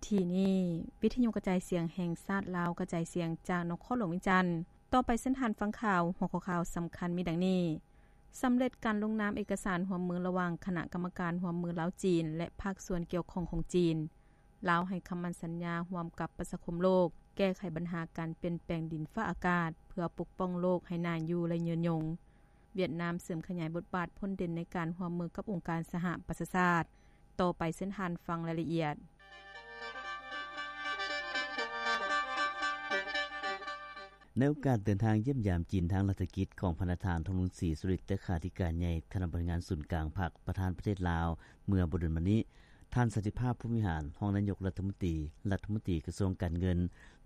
ທີ່ນີ້ ວິທະຍຸກະຈາຍສຽງແຫ່ງຊາດລາວ ກະຈາຍສຽງຈາກນະຄອນຫຼວງວຽງຈັນ. ຕໍ່ໄປເຊີນທ່ານຟັງຂ່າວ. ຫົວຂໍ້ຂ່າວສຳຄັນມີດັ່ງນີ້: ສຳເລັດການລົງນາມເອກະສານຮ່ວມມືລະຫວ່າງຄະນະກຳມະການຮ່ວມມືລາວ-ຈີນ ແລະ ພາກສ່ວນກ່ຽວຂ້ອງຂອງຈີນ. ລາວໃຫ້ຄຳໝັ້ນສັນຍາຮ່ວມກັບປະຊາຄົມໂລກ ແກ້ໄຂບັນຫາການປ່ຽນແປງດິນຟ້າອາກາດ ເພື່ອປົກປ້ອງໂລກໃຫ້ໜ້າຢູ່ ແລະ ຍືນຍົງ. ຫວຽດນາມເສີມຂະຫຍາຍບົດບາດພົ້ນເດັ່ນໃນການຮ່ວມມືກັບອົງການສະຫະປະຊາຊາດ. ຕໍ່ໄປເຊີນທ່ານຟັງລາຍລະອຽດ. ໃນໂອກາດເດີນທາງຢ້ຽມຢາມຈີນທາງລັດຖະກິດຂອງພະນະທ່ານ ທອງລຸນສີ ສຸລິດ ເລຂາທິການໃຫຍ່ຄະນະບໍລິຫານສູນກາງພັກ ປະທານປະເທດລາວ ເມື່ອບໍ່ດົນມານີ້, ທ່ານ ສັນຕິພາບ ພົມວິຫານ ຮອງນາຍົກລັດຖະມົນຕີ, ລັດຖະມົນຕີກະຊວງການເງິນ,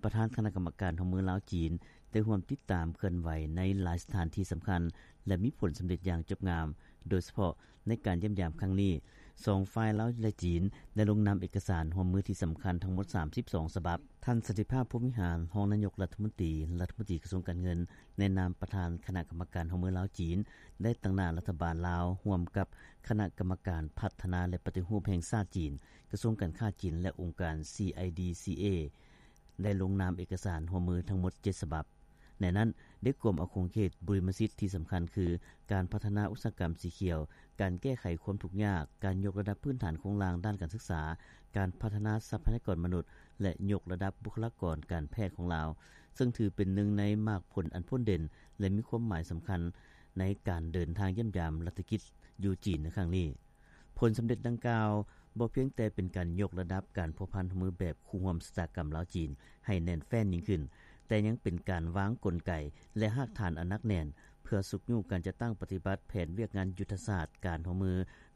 ປະທານຄະນະກຳມະການຮ່ວມມືລາວ-ຈີນ ໄດ້ຮ່ວມຕິດຕາມເຄື່ອນໄຫວໃນຫຼາຍສະຖານທີ່ສຳຄັນ ແລະ ມີຜົນສຳເລັດຢ່າງຈົບງາມ. ໂດຍສະເພາະໃນການຢ້ຽມຢາມຄັ້ງນີ້, ສອງຝ່າຍລາວ ແລະ ຈີນ ໄດ້ລົງນາມເອກະສານຮ່ວມມືທີ່ສຳຄັນທັງໝົດສາມສິບສອງສະບັບ. ທ່ານ ສັນຕິພາບ ພົມວິຫານ ຮອງນາຍົກລັດຖະມົນຕີ, ລັດຖະມົນຕີກະຊວງການເງິນ ໃນນາມປະທານຄະນະກຳມະການຮ່ວມມືລາວ-ຈີນ ໄດ້ຕາງໜ້າລັດຖະບານລາວ ຮ່ວມກັບຄະນະກຳມະການພັດທະນາ ແລະ ປະຕິຮູບແຫ່ງຊາດຈີນ, ກະຊວງການຄ້າຈີນ ແລະ ອົງການ ຊີໄອດີຊີເອ ໄດ້ລົງນາມເອກະສານຮ່ວມມືທັງໝົດເຈັດສະບັບ. ໃນນັ້ນໄດ້ກວມເອົາຂົງເຂດບຸລິມະສິດທີ່ສຳຄັນຄື ການພັດທະນາອຸດສາຫະກຳສີຂຽວ, ການແກ້ໄຂຄວາມທຸກຍາກ, ການຍົກລະດັບພື້ນຖານໂຄງລ່າງດ້ານການສຶກສາ, ການພັດທະນາຊັບພະຍາກອນມະນຸດ ແລະ ຍົກລະດັບບຸກຄະລາກອນການແພດຂອງລາວ, ເຊິ່ງຖືເປັນໜຶ່ງໃນໝາກຜົນອັນພົ້ນເດັ່ນ ແລະ ມີຄວາມໝາຍສຳຄັນໃນການເດີນທາງຢ້ຽມຢາມລັດຖະກິດຢູ່ຈີນໃນຄັ້ງນີ້. ຜົນສຳເລັດດັ່ງກ່າວບໍ່ພຽງແຕ່ເປັນການຍົກລະດັບການພົວພັນຮ່ວມມືແບບຄູ່ຮ່ວມຊະຕາກຳລາວ-ຈີນໃຫ້ແໜ້ນແຟ້ນຍິ່ງຂຶ້ນ, ແຕ່ຍັງເປັນການວາງກົນໄກ ແລະ ຮາກຖານອັນໜັກແໜ້ນ ເພື່ອຊຸກຍູ້ການຈັດຕັ້ງປະຕິບັດແຜນວຽກງານຍຸດທະສາດການຮ່ວມມື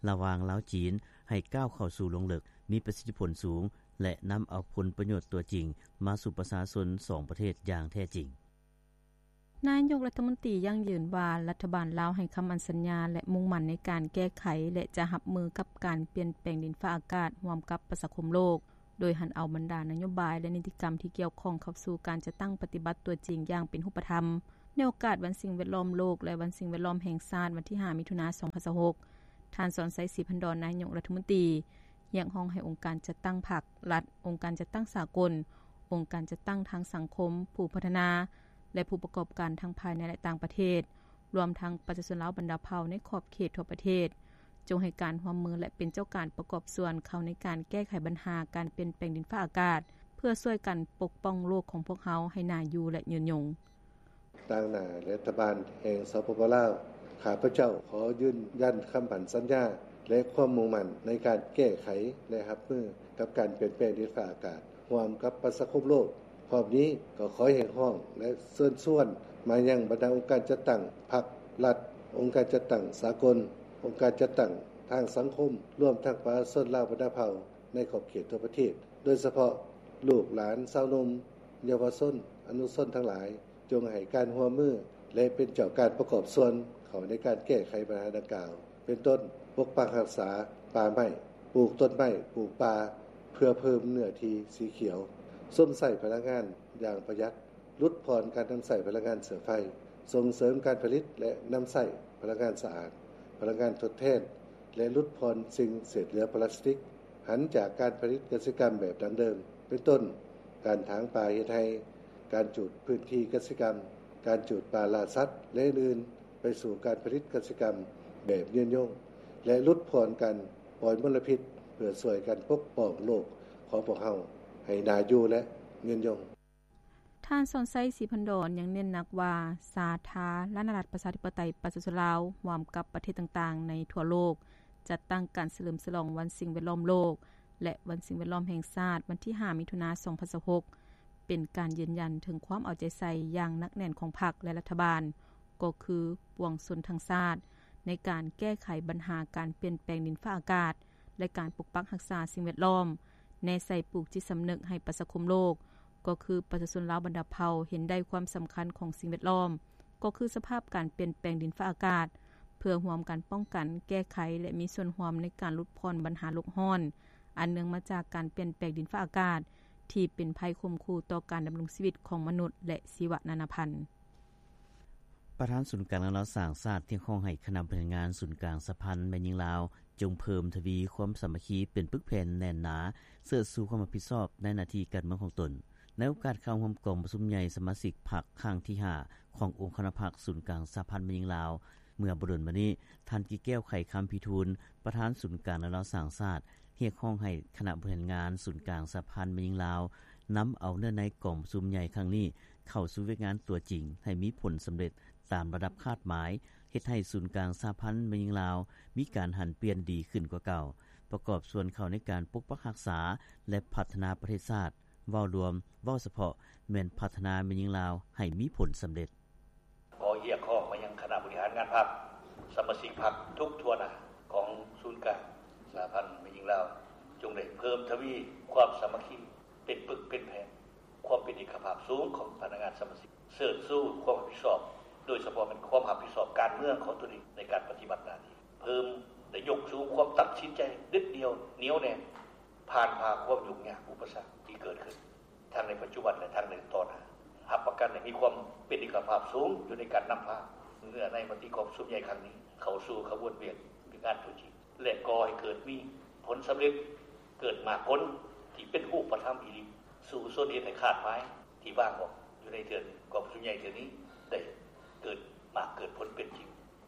ລະຫວ່າງລາວ-ຈີນ ໃຫ້ກ້າວເຂົ້າສູ່ລວງເລິກ, ມີປະສິດທິຜົນສູງ ແລະ ນຳເອົາຜົນປະໂຫຍດຕົວຈິງມາສູ່ປະຊາຊົນສອງປະເທດຢ່າງແທ້ຈິງ. ນາຍົກລັດຖະມົນຕີຢັ້ງຢືນວ່າ ລັດຖະບານລາວໃຫ້ຄຳໝັ້ນສັນຍາ ແລະ ມຸ່ງໝັ້ນໃນການແກ້ໄຂ ແລະ ຈະຮັບມືກັບການປ່ຽນແປງດິນຟ້າອາກາດຮ່ວມກັບປະຊາຄົມໂລກ, ໂດຍຫັນເອົາບັນດານະໂຍບາຍ ແລະ ນິຕິກຳທີ່ກ່ຽວຂ້ອງເຂົ້າສູ່ການຈັດຕັ້ງປະຕິບັດຕົວຈິງຢ່າງເປັນຮູບປະທຳ. ໃນໂອກາດວັນສິ່ງແວດລ້ອມໂລກ ແລະ ວັນສິ່ງແວດລ້ອມແຫ່ງຊາດ ວັນທີຫ້າ ມິຖຸນາ ສອງພັນຊາວຫົກ, ທ່ານ ສອນໄຊ ສີພັນດອນ ນາຍົກລັດຖະມົນຕີ ຮຽກຮ້ອງໃຫ້ອົງການຈັດຕັ້ງພັກ, ລັດ, ອົງການຈັດຕັ້ງສາກົນ, ອົງການຈັດຕັ້ງທາງສັງຄົມ, ຜູ້ພັດທະນາ ແລະ ຜູ້ປະກອບການທັງພາຍໃນ ແລະ ຕ່າງປະເທດ, ລວມທັງປະຊາຊົນລາວບັນດາເຜົ່າໃນຂອບເຂດທົ່ວປະເທດ, ຈົ່ງໃຫ້ການຮ່ວມມື ແລະ ເປັນເຈົ້າການປະກອບສ່ວນເຂົ້າໃນການແກ້ໄຂບັນຫາການປ່ຽນແປງດິນຟ້າອາກາດ, ເພື່ອຊ່ວຍກັນປົກປ້ອງໂລກຂອງພວກເຮົາໃຫ້ໜ້າຢູ່ ແລະ ຍືນຍົງ. ຕາງໜ້າລັດຖະບານແຫ່ງ ສປປ ລາວ, ຂ້າພະເຈົ້າຂໍຢືນຢັນຄຳໝັ້ນສັນຍາ ແລະ ຄວາມມຸ່ງໝັ້ນໃນການແກ້ໄຂ ແລະ ຮັບມືກັບການປ່ຽນແປງດິນຟ້າອາກາດ ຮ່ວມກັບປະຊາຄົມໂລກ. ພ້ອມນີ້ກໍຂໍຮຽກຮ້ອງ ແລະ ເຊີນຊວນມາຍັງບັນດາອົງການຈັດຕັ້ງພັກ, ລັດ, ອົງການຈັດຕັ້ງສາກົນ, ອົງການຈັດຕັ້ງທາງສັງຄົມ, ລວມທັງປະຊາຊົນລາວບັນດາເຜົ່າໃນຂອບເຂດທົ່ວປະເທດ, ໂດຍສະເພາະລູກຫຼານຊາວໜຸ່ມ, ເຍົາວະຊົນ, ອະນຸຊົນທັງຫຼາຍ, ຈົ່ງໃຫ້ການຮ່ວມມື ແລະ ເປັນເຈົ້າການປະກອບສ່ວນເຂົ້າໃນການແກ້ໄຂບັນຫາດັ່ງກ່າວ, ເປັນຕົ້ນ ປົກປັກຮັກສາປ່າໄມ້, ປູກຕົ້ນໄມ້, ປູກປ່າ ເພື່ອເພີ່ມເນື້ອທີ່ສີຂຽວ, ຊົມໃຊ້ພະລັງງານຢ່າງປະຢັດ, ຫຼຸດຜ່ອນການນຳໃຊ້ພະລັງງານເຊື້ອໄຟ, ສົ່ງເສີມການຜະລິດ ແລະ ນຳໃຊ້ພະລັງງານສະອາດ, ພະລັງງານທົດແທນ ແລະ ຫຼຸດຜ່ອນສິ່ງເສດເຫຼືອພລາສຕິກ, ຫັນຈາກການຜະລິດກະສິກຳແບບດັ້ງເດີມ, ເປັນຕົ້ນ ການຖາງປ່າເຮັດໄຮ່, ການຈູດພື້ນທີ່ກະສິກຳ, ການຈູດປ່າລ່າສັດ ແລະ ອື່ນໆ, ໄປສູ່ການຜະລິດກະສິກຳແບບຍືນຍົງ ແລະ ຫຼຸດຜ່ອນການປ່ອຍມົນລະພິດ ເພື່ອຊ່ວຍກັນປົກປ້ອງໂລກຂອງພວກເຮົາໃຫ້ໜ້າຢູ່ ແລະ ຍືນຍົງ. ທ່ານ ສອນໄຊ ສີພັນດອນ ຍັງເນັ້ນໜັກວ່າ ສາທາລະນະລັດ ປະຊາທິປະໄຕ ປະຊາຊົນລາວ ຮ່ວມກັບປະເທດຕ່າງໆໃນທົ່ວໂລກ ຈັດຕັ້ງການສະເຫຼີມສະຫຼອງວັນສິ່ງແວດລ້ອມໂລກ ແລະ ວັນສິ່ງແວດລ້ອມແຫ່ງຊາດ ວັນທີຫ້າ ມິຖຸນາ ສອງພັນຊາວຫົກ ເປັນການຢືນຢັນເຖິງຄວາມເອົາໃຈໃສ່ຢ່າງໜັກແໜ້ນຂອງພັກ ແລະ ລັດຖະບານ ກໍຄືປວງຊົນທັງຊາດ ໃນການແກ້ໄຂບັນຫາການປ່ຽນແປງດິນຟ້າອາກາດ ແລະ ການປົກປັກຮັກສາສິ່ງແວດລ້ອມ, ແນໃສ່ປູກຈິດສຳນຶກໃຫ້ປະຊາຄົມໂລກ, ກໍຄືປະຊາຊົນລາວບັນດາເຜົ່າເຫັນໄດ້ຄວາມສຳຄັນຂອງສິ່ງແວດລ້ອມ, ກໍຄືສະພາບການປ່ຽນແປງດິນຟ້າອາກາດ, ເພື່ອຮ່ວມກັນປ້ອງກັນ, ແກ້ໄຂ ແລະ ມີສ່ວນຮ່ວມໃນການຫຼຸດຜ່ອນບັນຫາໂລກຮ້ອນ ອັນເນື່ອງມາຈາກການປ່ຽນແປງດິນຟ້າອາກາດ ທີ່ເປັນໄພຂົ່ມຂູ່ຕໍ່ການດຳລົງຊີວິດຂອງມະນຸດ ແລະ ຊີວະນານາພັນ. ປະທານສູນກາງລາວສ້າງຊາດ ຮຽກຮ້ອງໃຫ້ຄະນະບໍລິຫານງານສູນກາງສະຫະພັນແມ່ຍິງລາວ ຈົ່ງເພີ່ມທະວີຄວາມສາມັກຄີ ເປັນປຶກແຜ່ນແໜ້ນໜາ ເຊີດຊູຄວາມຮັບຜິດຊອບ ໃນໜ້າທີ່ການເມືອງຂອງຕົນ. ໃນໂອກາດເຂົ້າຮ່ວມກອງປະຊຸມໃຫຍ່ສະມາຊິກພັກຄັ້ງທີຫ້າ ຂອງອົງຄະນະພັກສູນກາງສະຫະພັນແມ່ຍິງລາວ ເມື່ອບໍ່ດົນມານີ້, ທ່ານ ກີແກ້ວ ໄຂຄຳພິທູນ ປະທານສູນກາງແນວລາວສ້າງຊາດ ຮຽກຮ້ອງໃຫ້ຄະນະບໍລິຫານງານສູນກາງສະຫະພັນແມ່ຍິງລາວ ນຳເອົາເນື້ອໃນກອງປະຊຸມໃຫຍ່ຄັ້ງນີ້ ເຂົ້າສູ່ວຽກງານຕົວຈິງ ໃຫ້ມີຜົນສຳເລັດຕາມລະດັບຄາດໝາຍ, ເຮັດໃຫ້ສູນກາງສະຫະພັນແມ່ຍິງລາວ ມີການຫັນປ່ຽນດີຂຶ້ນກວ່າເກົ່າ, ປະກອບສ່ວນເຂົ້າໃນການປົກປັກຮັກສາ ແລະ ພັດທະນາປະເທດຊາດ. ເວົ້າລວມ, ເວົ້າສະເພາະ ແມ່ນພັດທະນາແມ່ຍິງລາວໃຫ້ມີຜົນສຳເລັດ. ຂໍຮຽກຮ້ອງມາຍັງຄະນະບໍລິຫານງານພັກ, ສະມາຊິກພັກທຸກທົ່ວໜ້າຂອງສູນກາງສະຫະພັນແມ່ຍິງລາວ, ຈົ່ງໄດ້ເພີ່ມທະວີຄວາມສາມັກຄີ ເປັນປຶກເປັນແຜ່ນ, ຄວາມເປັນເອກະພາບສູງຂອງພະນັກງານສະມາຊິກ, ເຊີດຊູຄວາມຮັບຜິດຊອບ, ໂດຍສະເພາະແມ່ນຄວາມຮັບຜິດຊອບການເມືອງຂອງຕົນເອງໃນການປະຕິບັດໜ້າທີ່, ເພີ່ມໄດ້ຍົກສູງຄວາມຕັດສິນໃຈເດັດດ່ຽວ, ໜຽວແໜ້ນ, ຜ່ານຜ່າຄວາມຫຍຸ້ງຍາກອຸປະສັກທີ່ເກີດຂຶ້ນ ທັງໃນປັດຈຸບັນ ແລະ ທັງໃນຕໍ່ໜ້າ, ຮັບປະກັນໃຫ້ມີຄວາມເປັນເອກະພາບສູງຢູ່ໃນການນຳພາເນື້ອໃນມະຕິກອງປະຊຸມໃຫຍ່ຄັ້ງນີ້ ເຂົ້າສູ່ຂະບວນວຽກງານຕົວຈິງ ແລະ ກໍ່ໃຫ້ເກີດມີຜົນສຳເລັດ, ເກີດໝາກຜົນທີ່ເປັນຮູບປະທຳອີ່ຫຼີ, ສູ່ຊົນເຮັດໃຫ້ຄາດໝາຍທີ່ວາງອອກຢູ່ໃນເທື່ອນີ້, ກອງປະຊຸມໃຫຍ່ເທື່ອນີ້ໄດ້ເກີດໝາກເກີດຜົນເປັນຈິງ,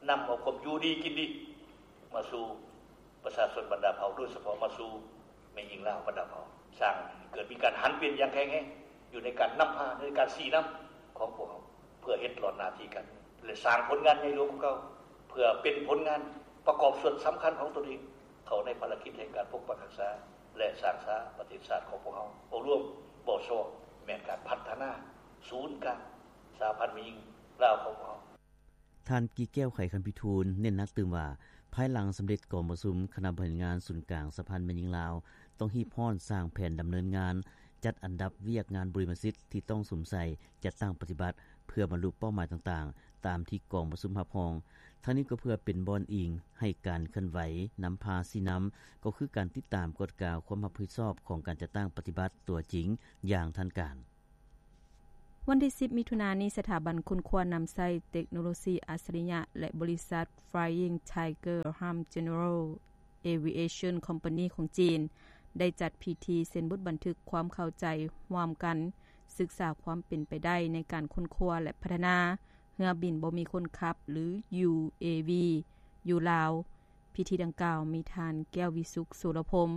ນຳເອົາຄວາມຢູ່ດີກິນດີມາສູ່ ປະຊາຊົນບັນດາເຜົ່າ, ໂດຍສະເພາະມາສູ່ແມ່ຍິງລາວບັນດາເຜົ່າ, ສ້າງໃຫ້ເກີດມີການຫັນປ່ຽນຢ່າງແຂງແຮງຢູ່ໃນການນຳພາ, ໃນການຊີ້ນຳຂອງພວກເຮົາ, ເພື່ອເຮັດຫຼອດໜ້າທີ່ການເມືອງ ແລະ ສ້າງຜົນງານໃຫຍ່ຫຼວງກວ່າເກົ່າ, ເພື່ອເປັນຜົນງານປະກອບສ່ວນສຳຄັນຂອງຕົນເອງ ເຂົ້າໃນພາລະກິດແຫ່ງການປົກປັກຮັກສາ ແລະ ສ້າງສາປະເທດຊາດຂອງພວກເຮົາ. ເວົ້າລວມ, ເວົ້າສະເພາະ ແມ່ນການພັດທະນາສູນກາງສະຫະພັນແມ່ຍິງລາວຂອງພວກເຮົາ. ທ່ານ ກີແກ້ວ ໄຂຄຳພິທູນ ເນັ້ນໜັກຕື່ມວ່າ, ພາຍຫຼັງສຳເລັດກອງປະຊຸມຄະນະບໍລິຫານງານສູນກາງສະຫະພັນແມ່ຍິງລາວ ຕ້ອງຮີບຮ້ອນສ້າງແຜນດຳເນີນງານ, ຈັດອັນດັບວຽກງານບຸລິມະສິດທີ່ຕ້ອງສຸມໃສ່, ຈັດຕັ້ງປະຕິບັດ ເພື່ອບັນລຸເປົ້າໝາຍຕ່າງໆ ຕາມທີ່ກອງປະຊຸມຮັບຮອງ. ທັງນີ້ກໍເພື່ອເປັນບ່ອນອີງໃຫ້ການເຄື່ອນໄຫວນຳພາຊີ້ນຳ, ກໍຄືການຕິດຕາມກວດກາຄວາມຮັບຜິດຊອບຂອງການຈັດຕັ້ງປະຕິບັດຕົວຈິງຢ່າງທັນການ. ວັນທີສິບ ມິຖຸນານີ້, ສະຖາບັນຄົ້ນຄວ້ານຳໃຊ້ເຕັກໂນໂລຊີອັດສະລິຍະ ແລະ ບໍລິສັດ Flying Tiger Ham General Aviation Company ຂອງຈີນ ໄດ້ຈັດພິທີເຊັນບົດບັນທຶກຄວາມເຂົ້າໃຈຮ່ວມກັນ, ສຶກສາຄວາມເປັນໄປໄດ້ໃນການຄົ້ນຄວ້າ ແລະ ພັດທະນາເຮືອບິນບໍ່ມີຄົນຂັບ ຫຼື UAV ຢູ່ລາວ. ພິທີດັ່ງກ່າວມີທ່ານ ແກ້ວວິສຸກ ໂສລະພົມ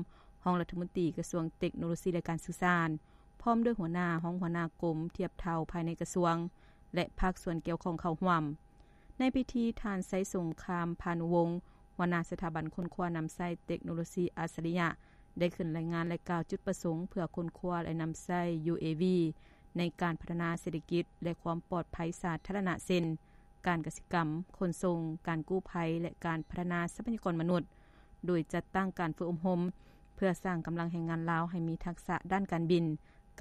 ຮອງລັດຖະມົນຕີກະຊວງເຕັກໂນໂລຊີ ແລະ ການສື່ສານ, ພ້ອມດ້ວຍຫົວໜ້າ, ຮອງຫົວໜ້າກົມທຽບເທົ່າພາຍໃນກະຊວງ ແລະ ພາກສ່ວນກ່ຽວຂ້ອງເຂົ້າຮ່ວມ. ໃນພິທີ, ທ່ານ ໄຊສົງຄາມ ພານຸວົງ ຫົວໜ້າສະຖາບັນຄົ້ນຄວ້ານຳໃຊ້ເຕັກໂນໂລຊີອັດສະລິຍະ ໄດ້ຂຶ້ນລາຍງານ ແລະ ກ່າວຈຸດປະສົງເພື່ອຄົ້ນຄວ້າ ແລະ ນຳໃຊ້ UAV ໃນການພັດທະນາເສດຖະກິດ ແລະ ຄວາມປອດໄພສາທາລະນະ ເຊັ່ນ ການກະສິກຳ, ຂົນສົ່ງ, ການກູ້ໄພ ແລະ ການພັດທະນາຊັບພະຍາກອນມະນຸດ, ໂດຍຈັດຕັ້ງການຝຶກອົບຮົມ ເພື່ອສ້າງກຳລັງແຮງງານລາວໃຫ້ມີທັກສະດ້ານການບິນ,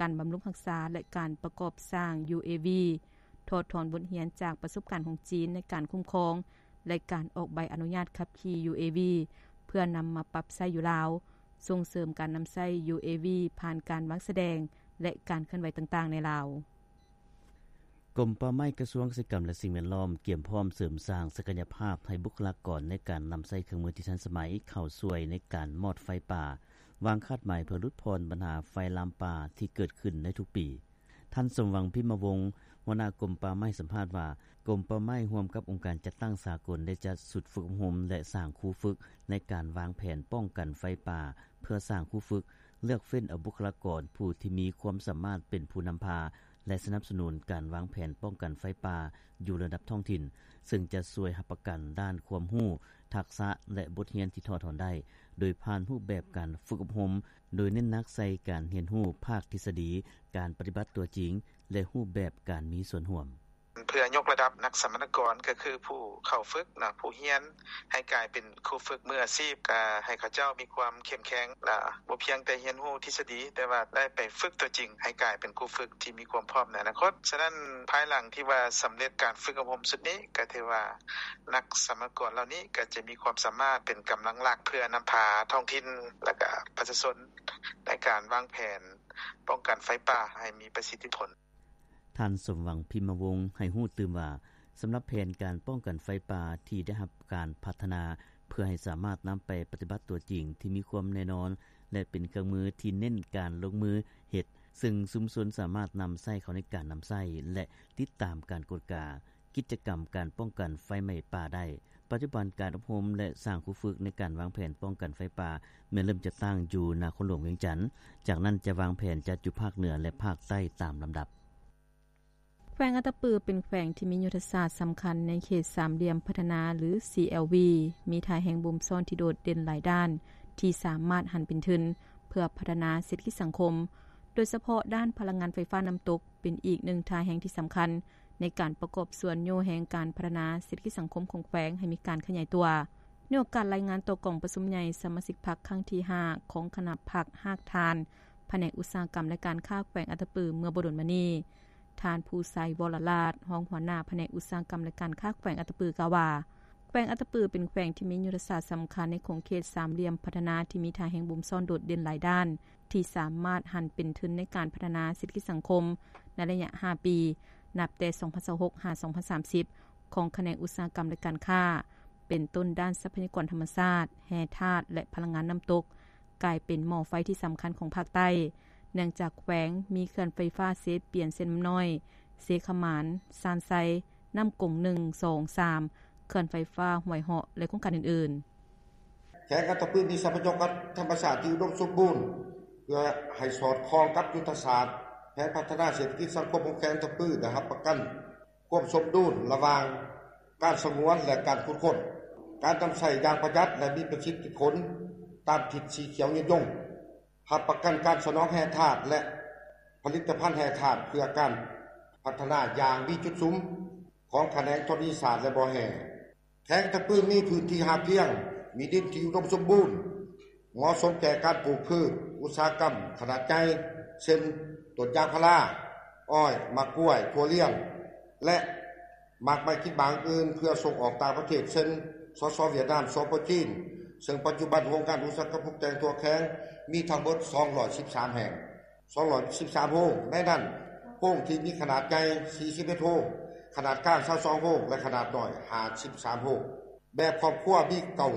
ການບຳລຸງຮັກສາ ແລະ ການປະກອບສ້າງ UAV, ຖອດຖອນບົດຮຽນຈາກປະສົບການຂອງຈີນໃນການຄຸ້ມຄອງ ແລະ ການອອກໃບອະນຸຍາດຂັບຂີ່ UAV ເພື່ອນຳມາປັບໃຊ້ຢູ່ລາວ, ສົ່ງເສີມການນຳໃຊ້ UAV ຜ່ານການວາງສະແດງ ແລະ ການເຄື່ອນໄຫວຕ່າງໆໃນລາວ. ກົມປ່າໄມ້ ກະຊວງກະສິກຳ ແລະ ສິ່ງແວດລ້ອມ ກຽມພ້ອມເສີມສ້າງສັກກະຍະພາບໃຫ້ບຸກຄະລາກອນໃນການນຳໃຊ້ເຄື່ອງມືທີ່ທັນສະໄໝເຂົ້າຊ່ວຍໃນການມອດໄຟປ່າ, ວາງຄາດໝາຍເພື່ອຫຼຸດຜ່ອນບັນຫາໄຟລາມປ່າທີ່ເກີດຂຶ້ນໃນທຸກປີ. ທ່ານ ສົມຫວັງ ພິມມະວົງ ຫົວໜ້າກົມປ່າໄມ້ ໃຫ້ສຳພາດວ່າ, ກົມປ່າໄມ້ຮ່ວມກັບອົງການຈັດຕັ້ງສາກົນ ໄດ້ຈັດຊຸດຝຶກອົບຮົມ ແລະ ສ້າງຄູຝຶກໃນການວາງແຜນປ້ອງກັນໄຟປ່າ ເພື່ອສ້າງຄູຝຶກ, ເລືອກເຟ້ນເອົາບຸກຄະລາກອນຜູ້ທີ່ມີຄວາມສາມາດເປັນຜູ້ນຳພາ ແລະ ສະໜັບສະໜູນການວາງແຜນປ້ອງກັນໄຟປ່າຢູ່ລະດັບທ້ອງຖິ່ນ, ເຊິ່ງຈະຊ່ວຍຮັບປະກັນດ້ານຄວາມຮູ້, ທັກສະ ແລະ ບົດຮຽນທີ່ຖອດຖອນໄດ້ ໂດຍຜ່ານຮູບແບບການຝຶກອົບຮົມ, ໂດຍເນັ້ນໜັກໃສ່ການຮຽນຮູ້ພາກທິດສະດີ, ການປະຕິບັດຕົວຈິງ ແລະ ຮູບແບບການມີສ່ວນຮ່ວມ. ເພື່ອຍົກລະດັບນັກສຳມະນາກອນ ກໍຄືຜູ້ເຂົ້າຝຶກເນາະ, ຜູ້ຮຽນ ໃຫ້ກາຍເປັນຄູຝຶກມືອາຊີບ, ກໍໃຫ້ເຂົາເຈົ້າມີຄວາມເຂັ້ມແຂງ ແລະ ບໍ່ພຽງແຕ່ຮຽນຮູ້ທິດສະດີ, ແຕ່ວ່າໄດ້ໄປຝຶກຕົວຈິງ ໃຫ້ກາຍເປັນຄູຝຶກທີ່ມີຄວາມພ້ອມໃນອະນາຄົດ. ສະນັ້ນ, ພາຍຫຼັງທີ່ວ່າສຳເລັດການຝຶກອົບຮົມຊຸດນີ້, ກໍຖືວ່ານັກສຳມະນາກອນເຫຼົ່ານີ້ ກໍຈະມີຄວາມສາມາດເປັນກຳລັງຫຼັກ ເພື່ອນຳພາທ້ອງຖິ່ນ ແລະ ກະປະຊາຊົນ ໃນການວາງແຜນປ້ອງກັນໄຟປ່າໃຫ້ມີປະສິດທິຜົນ. ທ່ານ ສົມຫວັງ ພິມມະວົງ ໃຫ້ຮູ້ຕື່ມວ່າ, ສຳລັບແຜນການປ້ອງກັນໄຟປ່າທີ່ໄດ້ຮັບການພັດທະນາ ເພື່ອໃຫ້ສາມາດນຳໄປປະຕິບັດຕົວຈິງ ທີ່ມີຄວາມແນ່ນອນ ແລະ ເປັນເຄື່ອງມືທີ່ເນັ້ນການລົງມືເຮັດ ຊຶ່ງຊຸມຊົນສາມາດນຳໃຊ້ເຂົ້າໃນການນຳໃຊ້ ແລະ ຕິດຕາມການກວດກາ ກິດຈະກຳການປ້ອງກັນໄຟໄໝ້ປ່າໄດ້. ປັດຈຸບັນການອົບຮົມ ແລະ ສ້າງຄູຝຶກໃນການວາງແຜນປ້ອງກັນໄຟປ່າ ແມ່ນເລີ່ມຈັດຕັ້ງຢູ່ນະຄອນຫຼວງວຽງຈັນ, ຈາກນັ້ນຈະວາງແຜນຈັດຢູ່ພາກເໜືອ ແລະ ພາກໃຕ້ຕາມລຳດັບ. ແຂວງອັດຕະປືເປັນແຂວງທີ່ມີຍຸດທະສາດສຳຄັນໃນເຂດສາມຫຼ່ຽມພັດທະນາ ຫຼື CLV ມີທ່າແຮງບົ່ມຊ້ອນທີ່ໂດດເດັ່ນຫຼາຍດ້ານ ທີ່ສາມາດຫັນເປັນທຶນເພື່ອພັດທະນາເສດຖະກິດສັງຄົມ, ໂດຍສະເພາະດ້ານພະລັງງານໄຟຟ້ານ້ຳຕົກ ເປັນອີກໜຶ່ງທ່າແຮງທີ່ສຳຄັນໃນການປະກອບສ່ວນໂຍແຮງການພັດທະນາເສດຖະກິດສັງຄົມຂອງແຂວງໃຫ້ມີການຂະຫຍາຍຕົວ. ໃນໂອກາດລາຍງານຕໍ່ກອງປະຊຸມໃຫຍ່ສະມາຊິກພັກຄັ້ງທີຫ້າ ຂອງຄະນະພັກຮາກຖານພະແນກອຸດສາຫະກຳ ແລະ ການຄ້າແຂວງອັດຕະປືເມື່ອບໍ່ດົນມານີ້, ທ່ານ ພູໄຊ ວໍລະລາດ ຮອງຫົວໜ້າພະແນກອຸດສາຫະກຳ ແລະ ການຄ້າແຂວງອັດຕະປື ກ່າວວ່າ ແຂວງອັດຕະປືເປັນແຂວງທີ່ມີຍຸດທະສາດສຳຄັນໃນຂົງເຂດສາມຫຼ່ຽມພັດທະນາ ທີ່ມີທ່າແຮງບົ່ມຊ້ອນໂດດເດັ່ນຫຼາຍດ້ານ ທີ່ສາມາດຫັນເປັນທຶນໃນການພັດທະນາເສດຖະກິດສັງຄົມໃນໄລຍະຫ້າປີ ນັບແຕ່ສອງພັນຊາວຫົກ ຫາ ສອງພັນສາມສິບ ຂອງຂະແໜງອຸດສາຫະກຳ ແລະ ການຄ້າ ເປັນຕົ້ນດ້ານຊັບພະຍາກອນທຳມະຊາດ, ແຮ່ທາດ ແລະ ພະລັງງານນ້ຳຕົກ ກາຍເປັນໝໍ້ໄຟທີ່ສຳຄັນຂອງພາກໃຕ້, ເນື່ອງຈາກແຂວງມີເຂື່ອນໄຟຟ້າເຊປຽນ ເຊນ້ຳນ້ອຍ, ເຊຂະໝານ, ຊານໄຊ, ນ້ຳກົງໜຶ່ງ ສອງ ສາມ, ເຂື່ອນໄຟຟ້າຫ້ວຍເຫາະ ແລະ ໂຄງການອື່ນໆ. ແຂວງອັດຕະປືມີຊັບພະຍາກອນທຳມະຊາດທີ່ອຸດົມສົມບູນ ເພື່ອໃຫ້ສອດຄ່ອງກັບຍຸດທະສາດແຜນພັດທະນາເສດຖະກິດສັງຄົມຂອງແຂວງອັດຕະປື ໄດ້ຮັບປະກັນຄວາມສົມດຸນລະຫວ່າງການສະຫງວນ ແລະ ການຂຸດຄົ້ນ, ການນຳໃຊ້ຢ່າງປະຢັດ ແລະ ມີປະສິດທິຜົນຕາມທິດສີຂຽວຍືນຍົງ, ຮັບປະກັນການສະໜອງແຮ່ທາດ ແລະ ຜະລິດຕະພັນແຮ່ທາດເພື່ອການພັດທະນາຢ່າງມີຈຸດສຸມຂອງຂະແໜງທໍລະນີສາດ ແລະ ບໍ່ແຮ່. ແຂວງອັດຕະປືມີພື້ນທີ່ຮັບພຽງ, ມີດິນທີ່ອຸດົມສົມບູນ, ເໝາະສົມແກ່ການປູກພືດອຸດສາຫະກຳຂະໜາດໃຫຍ່ ເຊັ່ນ ຕົ້ນຢາງພາລາ, ອ້ອຍ, ໝາກກ້ວຍ, ຖົ່ວລຽງ ແລະ ໝາກໄມ້ກິນໝາກອື່ນໆ ເພື່ອສົ່ງອອກຕ່າງປະເທດ ເຊັ່ນ ສສ ຫວຽດນາມ, ສປ ຈີນ, ເຊິ່ງປັດຈຸບັນໂຮງງານອຸດສາຫະກຳປຸງແຕ່ງທົ່ວແຂວງມີທັງໝົດສອງຮ້ອຍສິບສາມແຫ່ງ, ສອງຮ້ອຍສິບສາມໂຮງ, ໃນນັ້ນໂຮງທີ່ມີຂະໜາດໃຫຍ່ສີ່ສິບເອັດໂຮງ, ຂະໜາດກາງຊາວສອງໂຮງ ແລະ ຂະໜາດນ້ອຍຫ້າສິບສາມໂຮງ. ແບບຄອບຄົວມີເກົ້າ